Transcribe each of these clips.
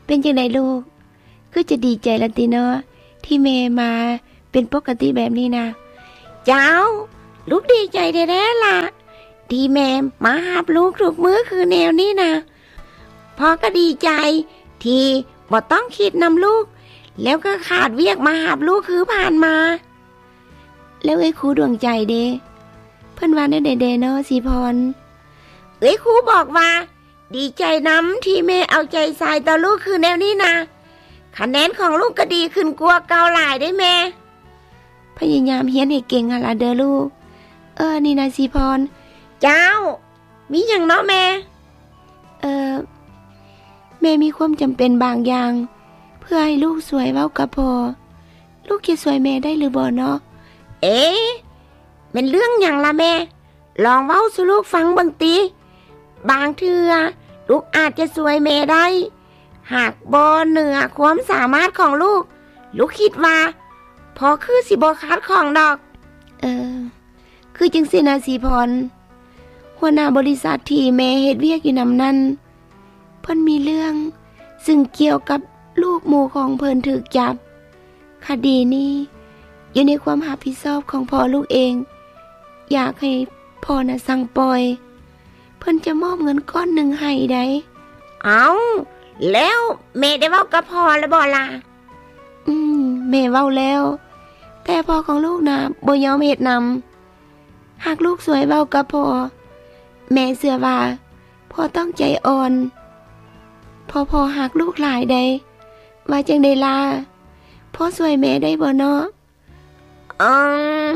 ປັນຈັ່ງໃດລູກ? ຄືຈະດີໃຈລະຕິເນາະ ທີ່ແມ່ມາເປັນປົກກະຕິແບບນີ້ນະ. ເຈົ້າ, ລູກດີໃຈແທ້ໆລະ ທີ່ແມ່ມາຮັບລູກທຸກມື້ຄືແນວນີ້ນະ. ພໍ່ກໍດີໃຈທີ່ບໍ່ຕ້ອງຄິດນຳລູກ ແລ້ວກໍຂາດວຽກມາຮັບລູກຄືຜ່ານມາ. ແລ້ວເອື້ອຍຄູດວງໃຈເດ? ເພິ່ນວ່າແນວໃດແດ່ເນາະ ສີພອນ? ເອື້ອຍຄູບອກວ່າ ດີໃຈນຳທີ່ແມ່ເອົາໃຈໃສ່ຕໍ່ລູກຄືແນວນີ້ນະ. ຄະແນນຂອງລູກກໍດີຂຶ້ນກວ່າເກົ່າຫຼາຍເດ້ແມ່. ພະຍາຍາມຮຽນໃຫ້ເກັ່ງຫັ້ນລະເດີລູກ. ເອີ ນີ້ນະສີພອນ. ເຈົ້າ, ມີຫຍັງເນາະແມ່? ເອີ ແມ່ມີຄວາມຈຳເປັນບາງຢ່າງ ເພື່ອໃຫ້ລູກຊ່ວຍເວົ້າກັບພໍ່. ລູກຈະຊ່ວຍແມ່ໄດ້ຫຼືບໍ່ເນາະ? ເອ ແມ່ນເລື່ອງຫຍັງລະແມ່? ລອງເວົ້າສູ່ລູກຟັງເບິ່ງຕິ. ບາງເທື່ອລູກອາດຈະຊ່ວຍແມ່ໄດ້ ຫາກບໍ່ເໜືອຄວາມສາມາດຂອງລູກ. ລູກຄິດວ່າພໍ່ຄືຊິບໍ່ຂັດຂ້ອງດອກ. ເອີ ຄືຈັ່ງຊີ້ນະສີພອນ, ຫົວໜ້າບໍລິສັດທີ່ແມ່ເຮັດວຽກຢູ່ນຳນັ້ນ ເພິ່ນມີເລື່ອງຊຶ່ງກ່ຽວກັບລູກໝູ່ຂອງເພິ່ນຖືກຈັບ. ຄະດີນີ້ຢູ່ໃນຄວາມຮັບຜິດຊອບຂອງພໍ່ລູກເອງ. ຢາກໃຫ້ພໍ່ນະສັ່ງປ່ອຍ, ເພິ່ນຈະມອບເງິນກ້ອນໜຶ່ງໃຫ້ໃດ໋. ເອົ້າ, ແລ້ວແມ່ໄດ້ເວົ້າກັບພໍ່ແລ້ວບໍ່ລະ? ອືມ, ແມ່ເວົ້າແລ້ວ, ແຕ່ພໍ່ຂອງລູກນະບໍ່ຍອມເຮັດນຳ. ຫາກລູກຊ່ວຍເວົ້າກັບພໍ່, ແມ່ເຊື່ອວ່າພໍ່ຕ້ອງໃຈອ່ອນ, ເພາະພໍ່ຮັກລູກຫຼາຍໃດ໋. ວ່າຈັ່ງໃດລະ? ພໍ່ຊ່ວຍແມ່ໄດ້ບໍ່ເນາະ? ອືມ,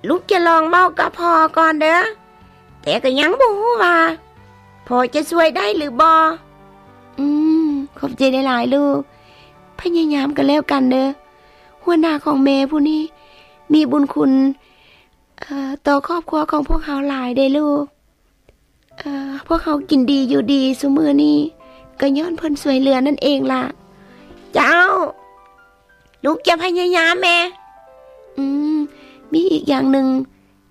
ລູກຈະລອງເວົ້າກັບພໍ່ກ່ອນເດີ, ແຕ່ກໍຍັງບໍ່ຮູ້ວ່າພໍ່ຈະຊ່ວຍໄດ້ຫຼືບໍ່. ອືມ, ຂອບໃຈຫຼາຍໆລູກ. ພະຍາຍາມກໍແລ້ວກັນເດີ. ຫົວໜ້າຂອງແມ່ຜູ້ນີ້ມີບຸນຄຸນ ເອີ ຕໍ່ຄອບຄົວຂອງພວກເຮົາຫຼາຍເດ້ລູກ. ເອີ ພວກເຮົາກິນດີຢູ່ດີຊຸມື້ນີ້ ກໍຍ້ອນເພິ່ນຊ່ວຍເຫຼືອນັ້ນເອງລະ. ເຈົ້າ, ລູກຈະພະຍາຍາມແມ່. ອືມ, ມີອີກຢ່າງໜຶ່ງ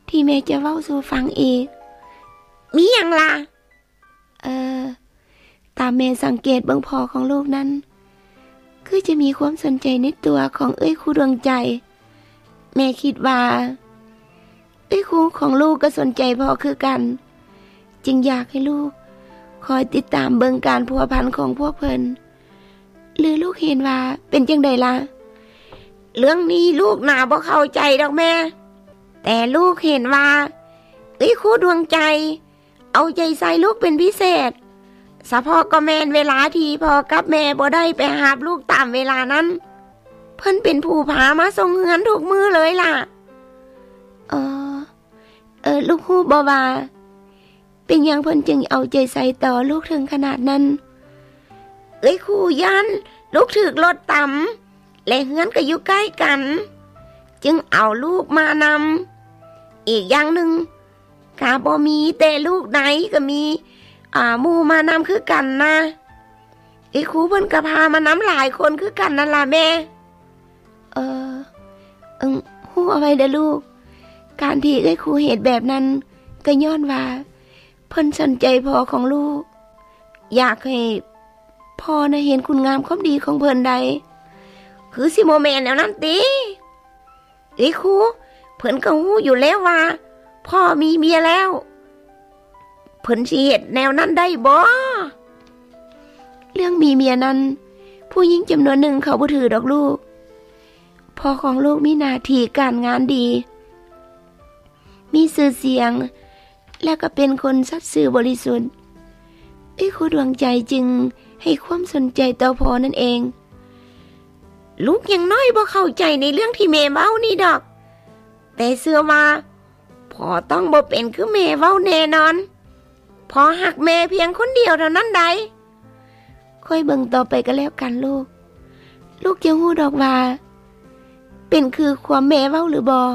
ທີ່ແມ່ຈະເວົ້າສູ່ຟັງອີກ. ມີຫຍັງລະ? ເອີ ຕາມແມ່ສັງເກດເບິ່ງພໍ່ຂອງລູກນັ້ນ ຄືຈະມີຄວາມສົນໃຈໃນຕົວຂອງເອື້ອຍຄູດວງໃຈ. ແມ່ຄິດວ່າເອື້ອຍຄູຂອງລູກກໍສົນໃຈພໍ່ຄືກັນ, ຈຶ່ງຢາກໃຫ້ລູກຄອຍຕິດຕາມເບິ່ງການພົວພັນຂອງພວກເພິ່ນ. ຫຼືລູກເຫັນວ່າເປັນຈັ່ງໃດລະ? ເລື່ອງນີ້ລູກໜາບໍ່ເຂົ້າໃຈດອກແມ່, ແຕ່ລູກເຫັນວ່າເອື້ອຍຄູດວງໃຈ ເອົາໃຈໃສ່ລູກເປັນພິເສດ, ສະເພາະກໍແມ່ນເວລາທີ່ພໍ່ກັບແມ່ບໍ່ໄດ້ໄປຮັບລູກຕາມເວລານັ້ນ, ເພິ່ນເປັນຜູ້ພາມາສົ່ງເຮືອນທຸກມື້ເລີຍລະ. ອໍ ເອີ ລູກຮູ້ບໍ່ວ່າເປັນຫຍັງເພິ່ນຈຶ່ງເອົາໃຈໃສ່ຕໍ່ລູກເຖິງຂະໜາດນັ້ນ? ເອື້ອຍຄູຢ້ານລູກຖືກລົດຕຳ ແລະ ເຮືອນກໍຢູ່ໃກ້ກັນ, ຈຶ່ງເອົາລູກມານຳ. ອີກຢ່າງໜຶ່ງ ກະບໍ່ມີແຕ່ລູກໃດ, ກະມີ ອາ ໝູ່ມານຳຄືກັນນະ. ເອື້ອຍຄູເພິ່ນກະພາມານຳຫຼາຍຄົນຄືກັນນັ້ນລະແມ່. ເອີ ເອີ ຮູ້ເອົາໄວ້ເດີລູກ, ການທີ່ເອື້ອຍຄູເຮັດແບບນັ້ນ ກະຍ້ອນວ່າເພິ່ນສົນໃຈພໍ່ຂອງລູກ, ຢາກໃຫ້ພໍ່ນະເຫັນຄຸນງາມຄວາມດີຂອງເພິ່ນໃດ໋. ຄືຊິບໍ່ແມ່ນແນວນັ້ນຕິ? ເອີຍຄູ, ເພິ່ນກໍຮູ້ຢູ່ແລ້ວວ່າພໍ່ມີເມຍແລ້ວ, ເພິ່ນຊິເຮັດແນວນັ້ນໄດ້ບໍ່? ເລື່ອງມີເມຍນັ້ນ ຜູ້ຍິງຈຳນວນໜຶ່ງເຂົາບໍ່ຖືດອກລູກ. ພໍ່ຂອງລູກມີໜ້າທີ່ການງານດີ, ມີຊື່ສຽງ, ແລະ ກໍເປັນຄົນສັດຊື່ບໍລິສຸດ. ເອື້ອຍຄູດວງໃຈຈຶ່ງໃຫ້ຄວາມສົນໃຈຕໍ່ພໍ່ນັ້ນເອງ. ລູກຍັງນ້ອຍບໍ່ເຂົ້າໃຈໃນເລື່ອງທີ່ແມ່ເວົ້ານີ້ດອກ, ແຕ່ເຊື່ອວ່າພໍ່ຕ້ອງບໍ່ເປັນຄືແມ່ເວົ້າແນ່ນອນ. ພໍ່ຮັກແມ່ພຽງຄົນດຽວເທົ່ານັ້ນໃດ໋. ຄອຍເບິ່ງຕໍ່ໄປກໍແລ້ວກັນລູກ. ລູກຈະຮູ້ດອກວ່າເປັນຄືຄວາມແມ່ເວົ້າຫຼືບໍ່.